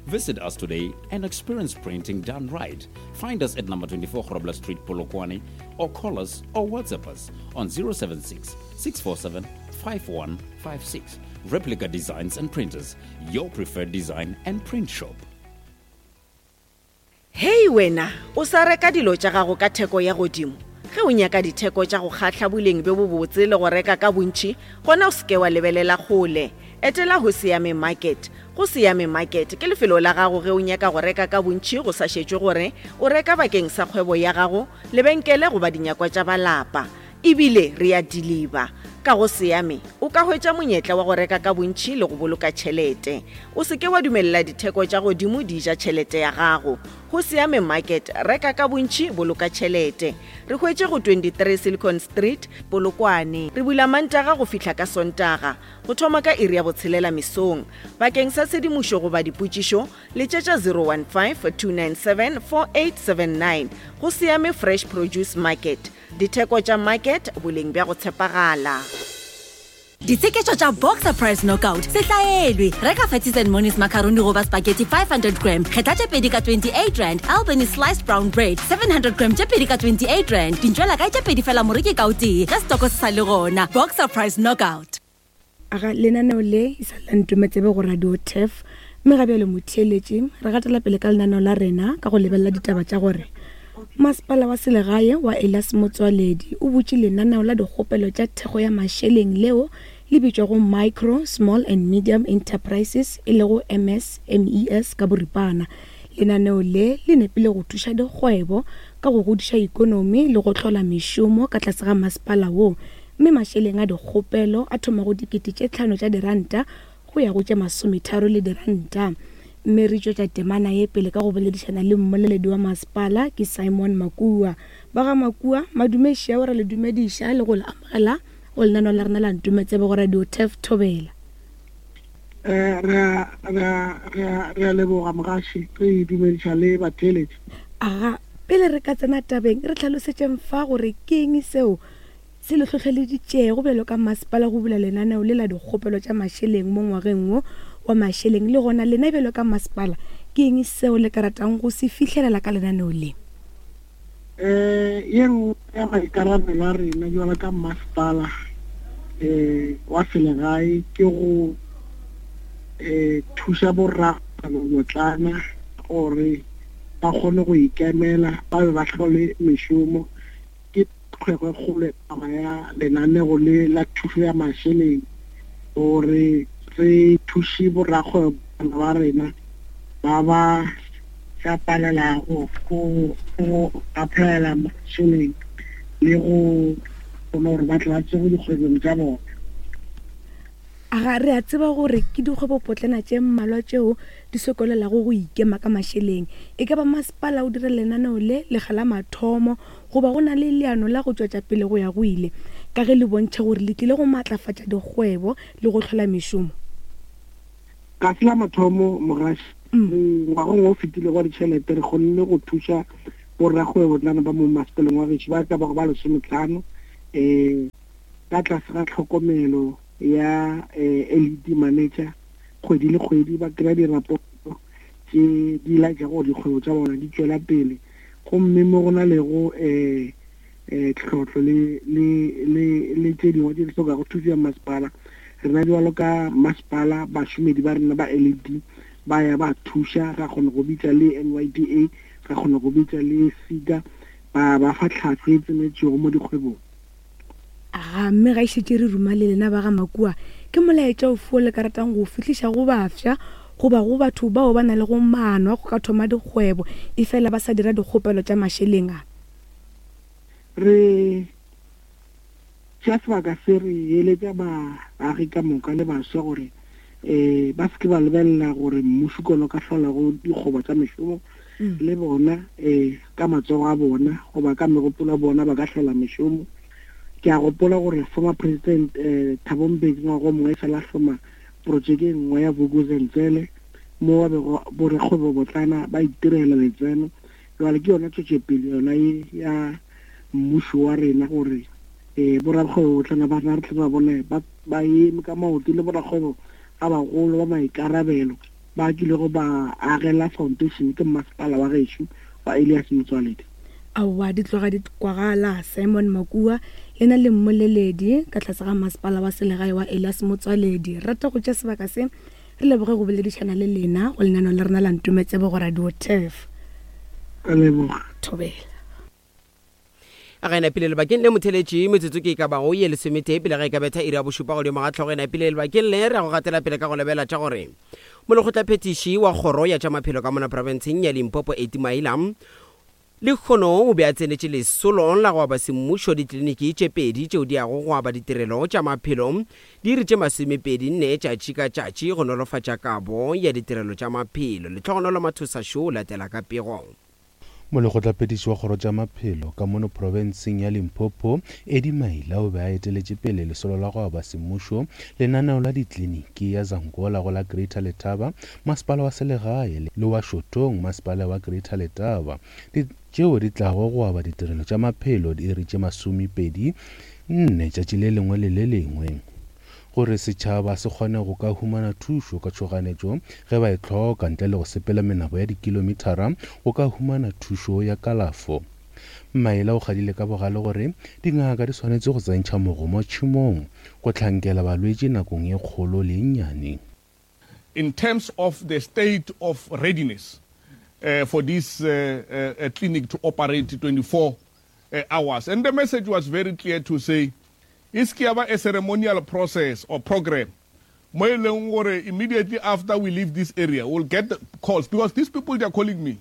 O: Visit us today and experience printing done right. Find us at number 24 Grobler Street, Polokwane, or call us or WhatsApp us on 076 647 5156. Replica Designs and Printers, your preferred design and print shop.
P: Hei wena, o sa reka dilo tša gago ka theko ya godimo? Ge o nyaka ditheko tša go kgahla boleng bjo bobotse le go reka ka bontši, gona o se ke wa lebelela kgole. Etela Hosiame Market. Go Siame Market ke lefelo la gago ge o nyaka go reka ka bontši go sa šetšwe gore o reka bakeng sa kgwebo ya gago, lebenkele goba dinyakwa tša ba lapa. E bile re a diliba. Ka go Siame, o ka hwetša monyetla wa go reka ka bontši le go boloka tšhelete. O se ke wa dumelela ditheko tša godimo di ja tšhelete ya gago. Go Siame Market, reka ka bontši, boloka tšhelete. Re hwetše go 23 Silicon Street, Polokwane. Re bula Mantaga go fihla ka Sontaga, go thoma ka iri ya botshelela mesong. Bakeng sa tshedimošo goba dipotšišo, Letšetša 015-297-4879. Go Siame Fresh Produce Market. Ditheko tša market, boleng bja go tshepagala.
L: Ditsheketšo tša Boxer Price Knockout se hlaelwe. Reka Fatties and Monies macaroni goba spaghetti 500 gram, kgetha tše pedi ka 28 rand, Albany sliced brown bread 700 gram tše pedi ka 28 rand, dintšwela kae tše pedi fela moreki ka o tee ge setoko se sa le gona. Boxer Price Knockout.
F: Aga lenaneo le e sa le la Ntometsebe go Radio Turf, mme ga bjale motheeletši re gatela pele ka lenaneo la rena ka go lebelela ditaba tša gore Masepala wa selegae wa Elias Motsoaledi o butše lenaneo la dikgopelo tša thekgo ya mašeleng leo le bitšwago Micro, Small and Medium Enterprises e lego MSMES ka boripana. Lenaneo le le nepile go thuša dikgwebo ka go godiša ikonomi le go hlola mešomo ka tlase ga masepala wo mme mašeleng a dikgopelo a thoma go dikete tše tlhano tša diranta go ya go tše masometharo le diranta. Mme re tšwetša temana ye pele ka go boledišana le mmoleledi wa masepala ke Simon Makua. Ba ga Makua, madume šeo ra le dumediša le go le amogela go lenaneo la rena la Ntometsebe go Radio Turf Thobela.
D: Eh, re a re a re a re a leboga mogaši re dumediša le batheeletši.
F: Aga, pele re ka tsena tabeng re hlalosetšeng fa gore ke eng seo se le hlohleleditšego bjalo ka masepala go bula lenaneo le la dikgopelo tša mašeleng mo ngwageng wo wa mašeleng le gona lena bjalo ka masepala ke eng seo le ka ratang go se fihlelela ka lenaneo le?
D: Um ye nngwe ya maikarabelo a rena bjalo ka masepala um wa selegae ke go um thuša borrakgwebobotlana gore ba kgone go ikemela ba be ba hlole mešomo. Ke kgwebo e kgolo taba ya lenanego le la thušo ya mašeleng gore re thuše borakgwebo ba rena ba ba tša palelago go go applyela mašeleng le go bona gore ba tle ba tsoge dikgwebong tša bona.
F: A ga re a tseba gore ke dikgwebopotlana tše mmalwa tšeo di sokolelago go ikema ka mašeleng? E ka ba masepala o dira lenaneo le lekga la mathomo goba go na le leano la go tšwetša pele go ya go ile, ka ge le bontšha gore le tlile go matlafatša dikgwebo le go hlola mešomo?
D: Ga se la mathomo, Mogaši. Ngwageng o fetilego wa ditšhelete re kgonne go thuša borakgwebotlana ba mo masepaleng wa gešo ba ka bago ba lesometlhano um ka tlase ga tlhokomelo ya LED manager kgwedi le kgwedi ba kry-a dirapoto tše di laetšago gore dikgwebo tša bona di tšwela pele gomme mo go na lego um tlhohlo le le le le tše dingwe tše di hlokago thušo ya masepala rena bjalo ka masepala bašomedi ba rena ba LED ba ya ba thuša ra kgona go bitša le NYDA ra kgona go bitša le SIGA ba ba fa tlhahlo e tsenetšego mo dikgwebong.
F: Aga, mme ga e šetše re ruma le lena ba ga Makua, ke molaetša ofe wo le ka ratang go o fihliša go bafsa goba go batho bao ba na lego maano a go ka thoma dikgwebo efela ba sa dira dikgopelo tša mašeleng a?
D: Re tšea sebaka se re eletša baagi ka moka le baswa gore um ba se ke ba lebelela gore mmušo ke ona o ka hlolago dikgoba tša mešomo le bona um ka matsogo a bona goba ka megopolo ya bona ba ka hlola mešomo. Ke a gopola gore former president um Thabo Mbeki ngwaga o mongwe e sale a hloma projeke e nngwe ya Vuk'uzenzele mo ba bego borakgwebobotlana ba itirela letseno. Jwale ke yona tšwetšopele yona ye ya mmušo wa rena gore um borakgwebobotlana ba rena re tle ba bone ba eme ka maoto le borakgwebo ba bagolo ba maikarabelo ba kilego ba agela foundation ke mmasepala wa gešo wa Elias Motsoaledi.
F: Aowa, di tloga di kwagala. Simon Makua, lena le mmoleledi ka tlase ga masepala wa selegae wa Elias Motsoaledi. Re rata go tšea sebaka se re leboge go boledišana le lena go lenaneo la rena la Ntometsebe go Radio Turf.
D: Ka leboga.
F: Thobela.
B: A ga e napile lebakeng le motheletši metsotso ke e ka bago ye lesometee pele ga e ka betha iri ya bošupa godimo ga tlhogo e napile lebakeng le re ya go gatela pele ka go lebela tša gore molekgotlaphethiši wa kgoro ya tša maphelo ka mona profenseng ya Limpopo Eti Maila lekgono o be a tsenetše lesolo la go aba semmušo ditleliniki tše pedi tšeo di yago go aba ditirelo tša maphelo diiri tše masomepedi nne tšatši ka tšatši go nolofatša kabo ya ditirelo tša maphelo. Letlhogonolo Mathosa Šo o latela ka pego.
E: Molekgotlaphethiši wa kgoro tša maphelo ka mono profenseng ya Limpopo, Eddie Maila o be a eteletše pele lesolo la go aba semmušo lenaneo la dikliniki ya Zangola go la Greater Letaba, masepala wa selegae, le wa Shotong, masepala wa Greater Letaba, tšeo di tlago go aba ditirelo tša maphelo diiri tše masomepedi nne tšatši le lengwe le le lengwe. Gore setšhaba se kgone go ka humana thušo ka tšhoganetšo ge ba e hloka ntle le go sepela menabo ya dikilometara go ka humana thušo ya kalafo. Maila o kgadile ka bogale gore dingaka di swanetše go tsentšha mogomo tšhemong go hlankela balwetši nakong ye kgolo le ye nnyane.
H: In terms of the state of readiness for this clinic to operate 24 hours and the message was very clear to say E se ke ya ba a ceremonial process or program mo e leng gore immediately after we leave this area we'll get calls because these people they are calling me.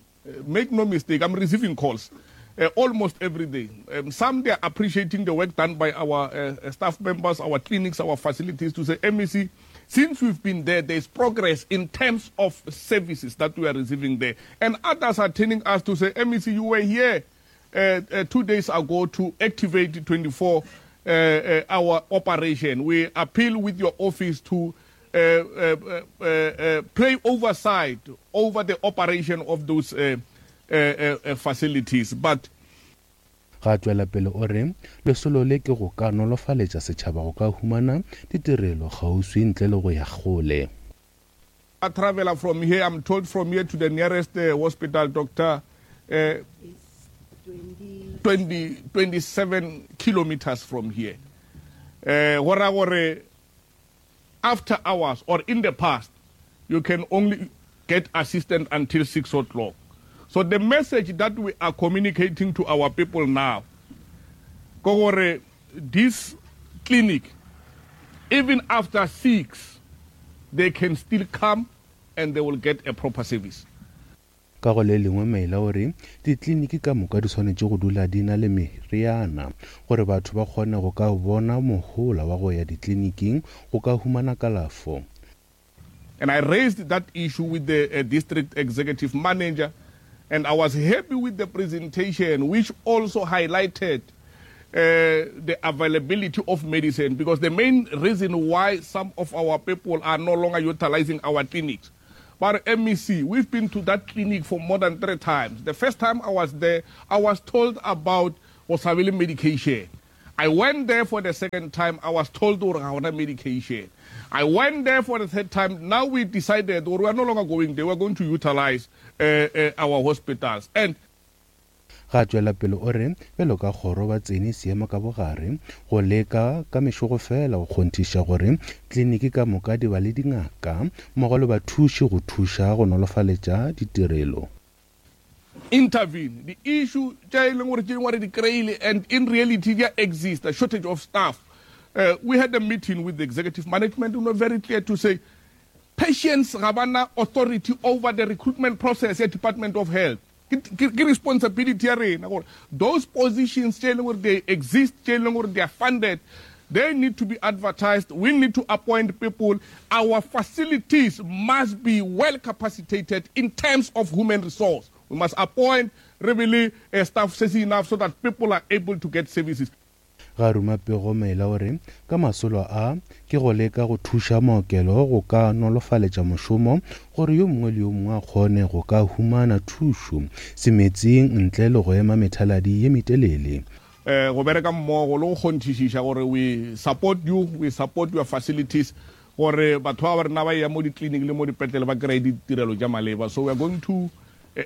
H: Make no mistake, I'm receiving calls uh, almost every day. Um, some they are appreciating the work done by our uh, staff members, our clinics, our facilities to say, MEC, since we've been there, there's progress in terms of services that we are receiving there. And others are telling us to say, MEC, you were here uh, uh, two days ago to activate 24 uh, uh, hour operation. We appeal with your office to uh, uh, uh, uh, play oversight over the operation of those uh, uh, uh, facilities. But
E: Ga tšwela pele o re lesolo le ke go ka nolofaletša setšhaba go ka humana ditirelo kgauswi ntle le go ya kgole.
H: I traveler from here, I'm told from here to the nearest uh, hospital, doctor, uh, 20, 27 kilometers from here. Uh, after hours or in the past, you can only get assistance until 6 o'clock. So the message that we are communicating to our people now, gore this clinic, even after 6, they can still come and they will get a proper service.
E: Ka go le lengwe Maila o re ditliniki ka moka di swanetše go dula di na le meriana gore batho ba kgone go ka bona mohola wa go ya ditliniking go ka humana kalafo.
H: And I raised that issue with the uh, district executive manager and I was happy with the presentation which also highlighted uh, the availability of medicine because the main reason why some of our people are no longer utilizing our clinics But MEC, we've been to that clinic for more than three times. The first time I was there, I was told about Osabili medication. I went there for the second time. I was told to medication. I went there for the third time. Now we decided we are no longer going there. We are going to utilize uh, uh, our hospitals. And
E: Ga a tšwela pele o re bjalo ka kgoro ba tsene seemo ka bogare go leka ka mešogo fela go kgonthiša gore tliniki ka moka di ba le dingaka mmogo le bathuši go thuša go nolofaletša ditirelo.
H: Intervene the issue tša e leng gore tše dingwe re di kry-ile and in reality di a exista, shortage of staff. Uh, we had a meeting with the executive management and we were very clear to say patients ga ba na authority over the recruitment process ya Department of Health. Ke responsibility ya rena gore those positions tše e leng gore they exist, tše e leng gore they are funded, they need to be advertised. We need to appoint people. Our facilities must be well capacitated in terms of human resource. We must appoint really a staff se se enough so that people are able to get services.
E: Ga ruma pego Maila o re ka masolo a ke go leka go thuša maokelo go ka nolofaletša mošomo gore yo mongwe le yo mongwe a kgone go ka humana thušo semetsing ntle le go ema methaladi ye metelele.
H: Go bereka mmogo le go kgonthišiša gore we support you, we support your facilities gore batho ba ba rena ba eya mo di-clinic le mo dipetlele ba kry-e ditirelo tša maleba. So we are going to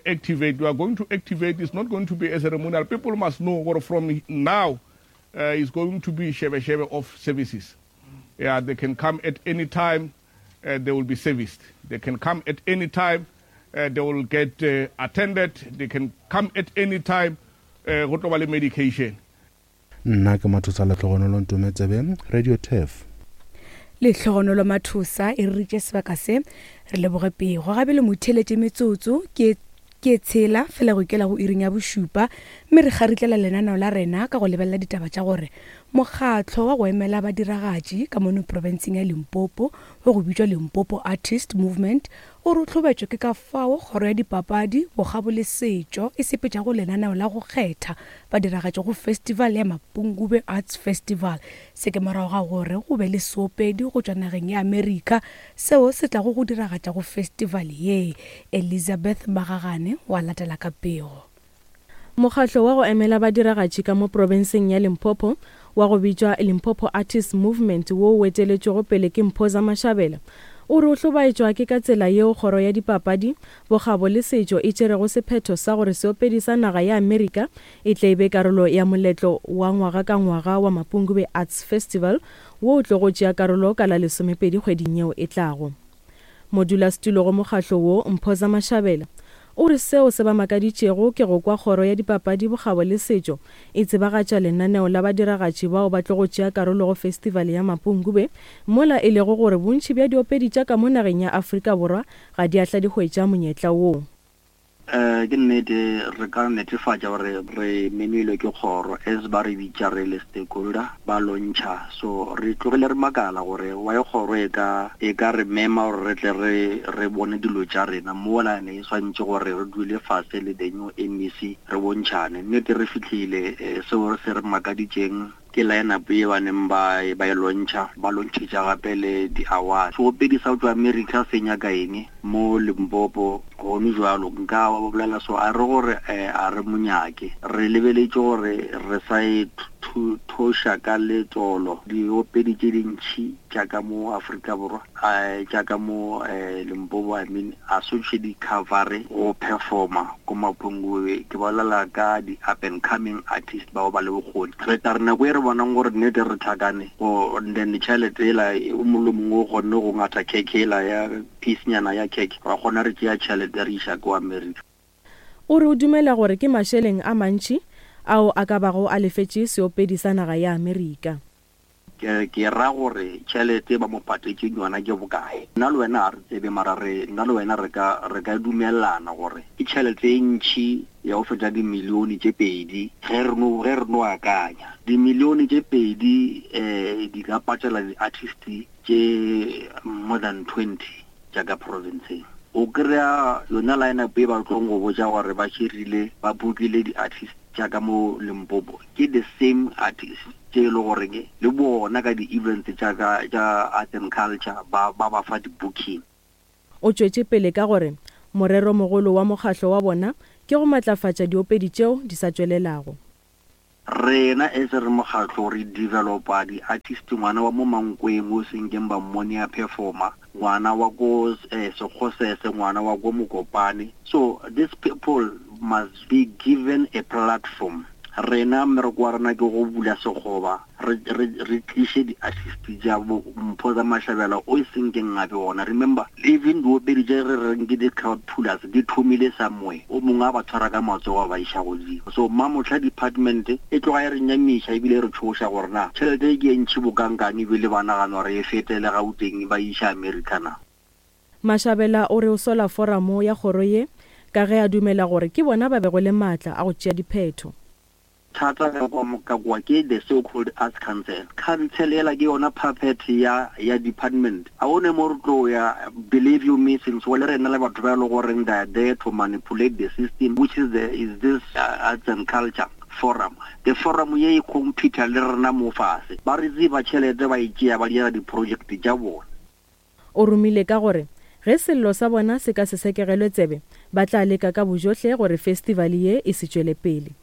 H: activate, we are going to activate, it's not going to be a ceremonial. People must know gore from now uh, it's going to be shebe shebe of services. Yeah, they can come at any time, uh, they will be serviced. They can come at any time, uh, they will get uh, attended. They can come at any time, uh, go tlo ba le medication.
E: Nna ke Mathosa Lehlogonolo Ntometsebe, Radio Turf.
F: Lehlogonolo Mathosa e re ritše sebaka se re leboge pego gabe le motheletše metsotso ke ke tshela fela go ikela go iring ya bošupa mme re kgaritlela lenaneo la rena ka go lebelela ditaba tša gore mokgatlo wa go emela badiragatši ka mono profenseng ya Limpopo wa go bitšwa Limpopo Artist Movement O re o hlobetšwe ke ka fao Kgoro ya Dipapadi, Bokgabo le Setšo e sepetšago lenaneo la go kgetha badiragatši go festival ya Mapungubwe Arts Festival. Se ke morago ga gore go be le seopedi go tšwa nageng ya Amerika seo se tlago go diragatša go festival ye. Elizabeth Magagane wa latela ka pego.
I: Mokgatlo wa go emela badiragatši ka mo profenseng ya Limpopo wa go bitšwa Limpopo Artists Movement wo o eteletšwego pele ke Mphoza Mashabela o re o hlobaetšwa ke ka tsela yeo kgoro ya dipapadi, bokgabo le setšo e tšerego sephetho sa gore seopedi sa naga ya Amerika e tle e be karolo ya moletlo wa ngwaga ka ngwaga wa Mapungubwe Arts Festival wo o tlogo tšea karolo ka la lesomepedi kgweding yeo e tlago. Modulasetulo go mokgahlo wo, Mphoza Mashabela, o re seo se ba makaditšego ke go kwa kgoro ya dipapadi, bokgabo le setšo e tsebagatša lenaneo la badiragatši bao ba tlogo tšea karolo go festivale ya Mapungubwe mola e lego gore bontši bja diopedi tša ka mo nageng ya Afrika Borwa ga di a hla di hwetša monyetla wo.
J: Ke nnete, re ka netefatša gore re memilwe ke kgoro as ba re bitša re le stakeholder ba launcha. So re tlogile re makala gore why kgoro e ka e ka re mema gore re tle re re bone dilo tša rena mola ne e swantše gore re dule fase le the new MEC re bontšhane. Nnete re fihlile seo se re makaditšeng Ke line-up ye ba neng ba ba e launcha, ba launchetša gape le di-award. Seopedi sa go tšwa America se nyaka eng mo Limpopo gone jwalo? Nka bolela so, a re gore a re mo nyake. Re lebeletše gore re sa e thoša ka letsolo diopedi tše dintši tša ka mo Afrika Borwa, tša ka mo Limpopo, I mean, a sotše di cover go performa ko Mapungubwe. Ke bolela ka di up and coming artist bao ba le bokgoni. Re tla re nako e re bonang gore nnete re tlhakane go then tšhelete ela o mongwe le mongwe o kgonne go ngatha khekhe ela ya piece nyana ya khekhe, ra kgona re tšea tšhelete re iša ko America.
I: O re o dumela gore ke mašeleng a mantši ao a ka bago a lefetše seopedi sa naga ya Amerika.
J: Ke, ke ra gore tšhelete ba mo patetšeng yona ke bokae? Nna le wena ga re tsebe, mara re, nna le wena re ka, re ka dumelelana gore ke tšhelete e ntši ya go feta dimilione tše pedi, ge re no, ge re no akanya. Dimilione tše pedi, eh, di ka patela di-artist tše more than 20 tša ka provinceng. O kry-a yona line-up e ba tlong go botša gore ba širile, ba bookile di-artist tša ka mo Limpopo, ke the same artist tše e le goreng le bona ka di-events tša ka tša arts and culture ba ba ba fa di-booking.
I: O tšwetše pele ka gore moreromogolo wa mokgahlo wa bona ke go matlafatša diopedi tšeo di sa tšwelelago.
J: Rena as re mokgahlo re developa di artist ngwana wa mo Mankweng o senkeng ba mmone a performa, ngwana wa ko Sekgosese, ngwana wa ko Mokopane. So these people must be given a platform. Rena mmereko wa rena ke go bula sekgoba, re, re, re tliše di-artist tša bo Mpho tsa Mashabela o e senkeng gape gona. Remember, even diopedi tše re reng ke di-crowd pullers di thomile somewhere, o mongwe a ba tshwara ka matsogo a ba iša godimo. So Mamohla department e tloga e re nyamiša ebile e re tšhoša gore na tšhelete e ke e ntši bokankang ebile ba nagana gore e fetele Gauteng ba e iša America na.
I: Mashabela o re o sola foramo ya kgoro ye ka ge a dumela gore ke bona ba bego le maatla a go tšea diphetho.
J: Thata ka kwa ka kwa ke the so called Arts Council. Council yela ke yona puppet ya ya department. A o ne mo re tlo ya, believe you me since le rena le batho ba e le goreng they are there to manipulate the system which is the is this Arts and Culture forum. The forum ye e compete le rena mo fase. Ba re tseba tšhelete ba e tšea ba dira di project tša bona.
I: O romile ka gore ge sello sa bona se ka se sekegelwe tsebe, ba tla leka ka bojohle gore festivale ye e se tšwele pele.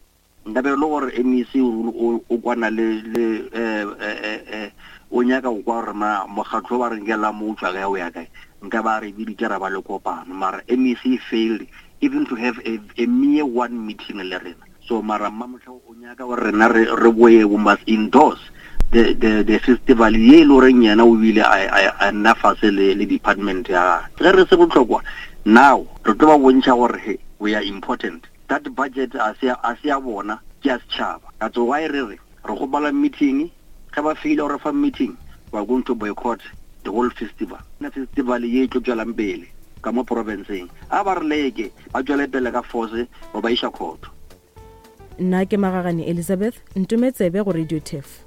J: Nka be e le gore MEC o o kwana le le eh o nyaka go kwa gore na mokgatlo ba re nkela mo o tšwa kae o ya kae, nka ba re biditše ra ba le kopano. Mara MEC failed even to have a, a mere one meeting le rena. So mara Mmamohla o nyaka gore rena re re boye we must endorse the the the festival ye e le goreng yena o bile a a a nna fase le le department ya gagwe. Ge re se bohlokwa now re tlo ba bontšha gore he we are important. That budget a se a se ya bona ke ya setšhaba. That's why re re re kgopela meeting ge ba faila go re fa meeting we are going to boycott the whole festival. Festival ye e tlo tšwelang pele ka mo provinceng a ba re leke ba tšwele pele ka force go ba iša khotho.
I: Nna ke Magagane Elizabeth, ntome tsebe go Radio Turf.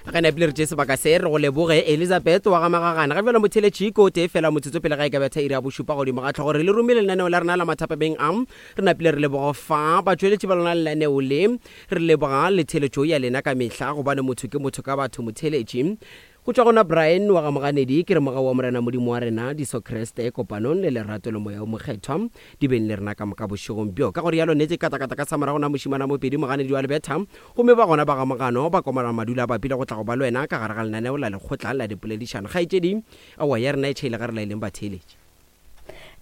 B: Ge napile re tše sebaka se re go leboge Elizabeth wa ga Magagane. Ga bjalo motheletši ko tee fela motsotso pele ga e ka betha iri ya bošupa godimo ga tlhogo re le romile lenaneo la rena la mathapameng a re napile re leboga fa batšweletši ba lona lenaneo le re leboga le theletšo ya lena ka mehla gobane motho ke motho ka batho motheletši Go tšwa gona Brian wa ga Moganedi, ke re mogau wa Morena Modimo wa rena, Jesu Kriste, kopanong le lerato le Moya wo Mokgethwa, di beng le rena ka moka bošegong bjo. Ka go rialo, nnete katakata ka sa morago na mošimana Mopedi, Moganedi wa Lebetha, gomme ba gona ba ga Mogano, ba komana madula a bapile go tla go ba le wena ka gare ga lenaneo la lekgotla la dipoledišano. Kgaetšedi, aowa ya rena e tšhaile ga re laeleng batheeletši.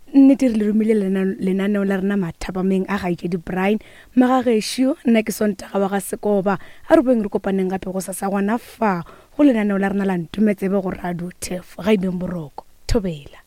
F: Nnete re le romile lenaneo la rena mathapameng a gaetšedi Brian Magagešo. Nna ke Sontaga wa ga Sekoba. A re boeng re kopaneng gape go sasa gona fa go lenaneo la rena la Ntumetsebe go Radio Turf. Ga e beng boroko. Thobela.